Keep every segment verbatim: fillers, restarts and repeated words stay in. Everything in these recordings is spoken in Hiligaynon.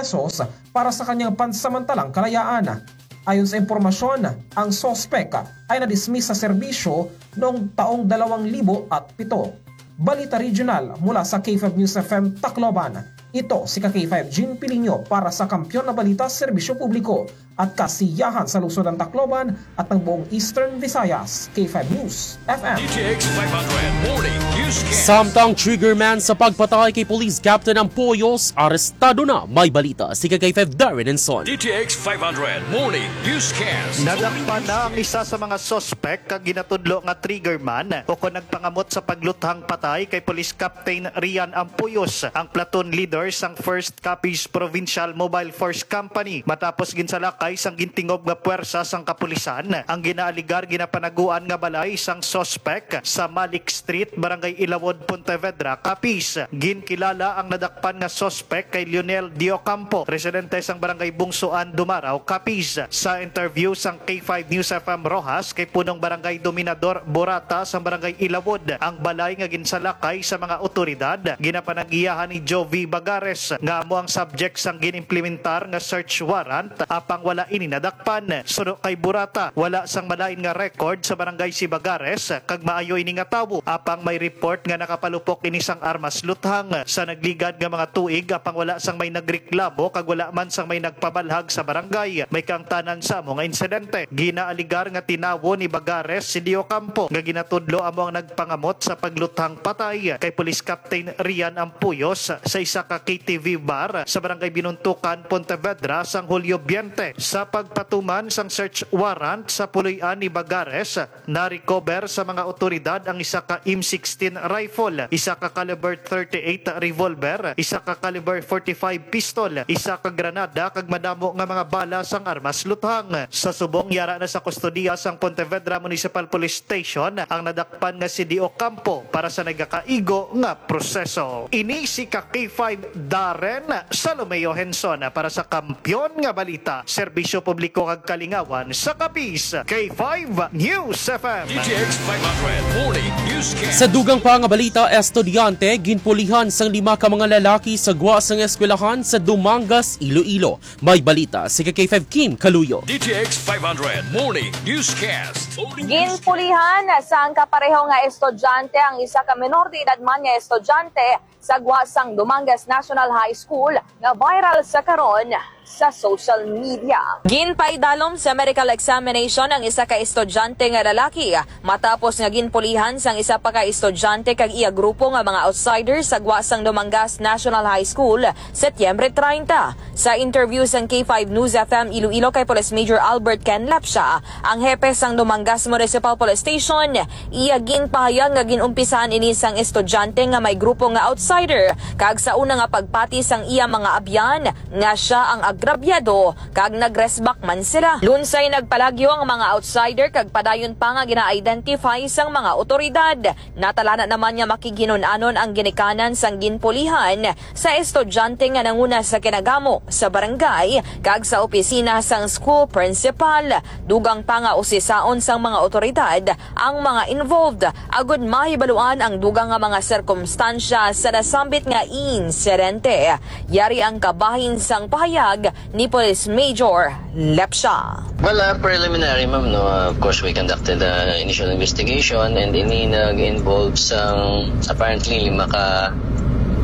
pesos para sa kanyang pansamantalang kalayaan. Ayon sa impormasyon, ang suspek ay nadismiss sa serbisyo noong taong dalawang libo at pito. Balita regional mula sa K five News F M Tacloban. Ito si ka K five Jean Pilinyo para sa Kampiyon na Balita, Serbisyo Publiko at Kasiyahan sa Lungsod ng Tacloban at ng buong Eastern Visayas. K five News F M. D T X five hundred Morning Newscast. Samtang trigger man sa pagpatay kay Police Captain Ampoyos, arestado na. May balita si ka K five Darren Enson. D T X five hundred Morning Newscast. Nadakpan na ang isa sa mga suspek kag ginatudlo nga trigger man o kon nagpangamot sa pagluthang patay kay Police Captain Rian Ampoyos, ang platoon leader sang First Capiz Provincial Mobile Force Company, matapos ginsalakay sang gintingob nga puwersa sang kapulisan ang ginaaligar ginapanaguan nga balay sang suspek sa Malik Street, Barangay Ilawod, Pontevedra, Capiz. Ginkilala ang nadakpan nga suspek kay Lionel Diocampo, residente sang Barangay Bungsoan, Dumarao, Capiz. Sa interview sang K five News F M Roxas kay Punong Barangay Dominador Borata sang Barangay Ilawod, ang balay nga ginsalakay sa mga otoridad ginapanag-iyahan ni Jovie Bagares, nga amo ang subject sang ginimplementar nga search warrant, apang wala ini nadakpan. Suno kay Borata, wala sang malain nga record sa barangay si Bagares, kag maayo ini nga tawo, apang may report nga nakapalupok ini sang armas luthang sa nagligad nga mga tuig, apang wala sang may nagreklamo kag wala man sang may nagpabalhag sa barangay may kaangtanan sa amo nga insidente. Ginaaligar nga tinawo ni Bagares si Diocampo, nga ginatudlo amo ang nagpangamot sa pagluthang patay kay Police Captain Rian Ampuyos sa isa ka K T V bar sa Barangay Binuntukan, Pontevedra, sang Hulyo twenty. Sa pagpatuman sang search warrant sa puloy-an ni Bagares, na-recover sa mga otoridad ang isa ka M sixteen rifle, isa ka caliber thirty-eight revolver, isa ka caliber forty-five pistol, isa ka granada, kag madamo nga mga bala sang armas luthang. Sa subong, yara na sa kustodiya sang Pontevedra Municipal Police Station ang nadakpan nga si Diocampo para sa nagakaigo nga proseso. Ini si ka K five Darren Salomeo Henson para sa Kampiyon nga Balita, Serbisyo Publiko kag Kalingawan sa Capiz, K five News F M. D T X five hundred Morning Newscast. Sa dugang pa nga balita, estudyante ginpulihan sang lima ka mga lalaki sa gwa sang eskwelahan sa Dumangas, Iloilo. May balita si ka K five Kim Kaluyo. D T X five hundred Morning Newscast. Ginpulihan sang kapareho nga estudyante ang isa ka menor de edad man nga estudyante sa gwa sang Dumangas National High School nga viral sa karon sa social media. Ginpaidalom sa medical examination ang isa ka estudyante nga lalaki matapos nga ginpulihan sang isa pa ka estudyante kag iya grupo nga mga outsider sa gwa sang Dumangas National High School, Setyembre treinta. Sa interview sang K five News F M Iloilo kay Police Major Albert Ken Lepcia, ang hepe sang Dumangas Municipal Police Station, iya ginpahayag nga gin-umpisahan ini sang estudyante nga may grupo nga outsider, kag sa una nga pagpati sang iya mga abyan nga sia ang agrabyado kag nagresbak man sila. Lunsay nagpalagyo ang mga outsider kag padayon pa nga gina-identify sang mga otoridad. Natalana naman nga makighinun-anon ang ginikanan sang ginpulihan sa estudyante nga nanguna sa kinagamo sa barangay kag sa opisina sang school principal. Dugang pa nga usisaon sang mga otoridad ang mga involved agud mahibaluan ang dugang nga mga sirkumstansya sa nasambit nga insidente. Yari ang kabahin sang pahayag ni Police Major Lepcia. Well, uh, preliminary, ma'am, no, uh, of course, we conducted the initial investigation and ini nag-involve sang, apparently, lima ka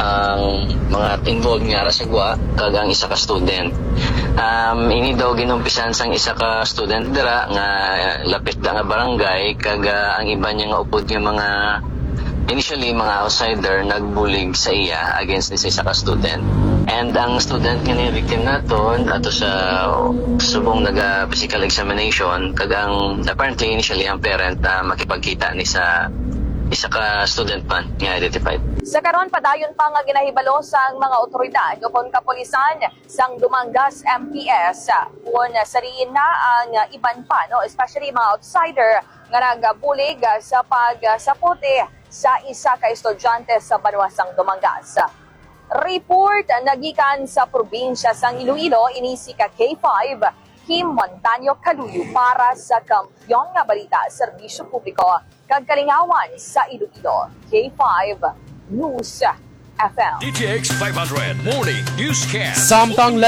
ang mga involved nga ara sa gwa kag ang isa ka student. Um, ini daw ginumpisan sang isa ka student dira nga lapit da nga barangay kag, uh, ang iban niya nga upod nga mga initially, mga outsider nagbulig sa iya against ni sa isa ka student. And ang student nga ni victim naton ato sa subong naga physical examination, kag ang apparently initially ang parent na makipagkita ni sa isa ka student man nga identified. Sa karon, padayon pa nga ginahibalo sang mga otoridad o kon kapulisan sang Dumangas M P S, kon sa diin na ang iban pa, no, especially mga outsider nga nagbulig, ah, sa pagsaputi sa isa ka estudyante sa banwa sang Dumangas. Report nagikan sa probinsya sang Iloilo, ini si ka K five, Kim Montaño Caluyo para sa Kampiyon nga Balita, Serbisyo Publiko kag Kalingawan sa Iloilo, K five News F M. D T X five hundred Morning Newscast. Samtang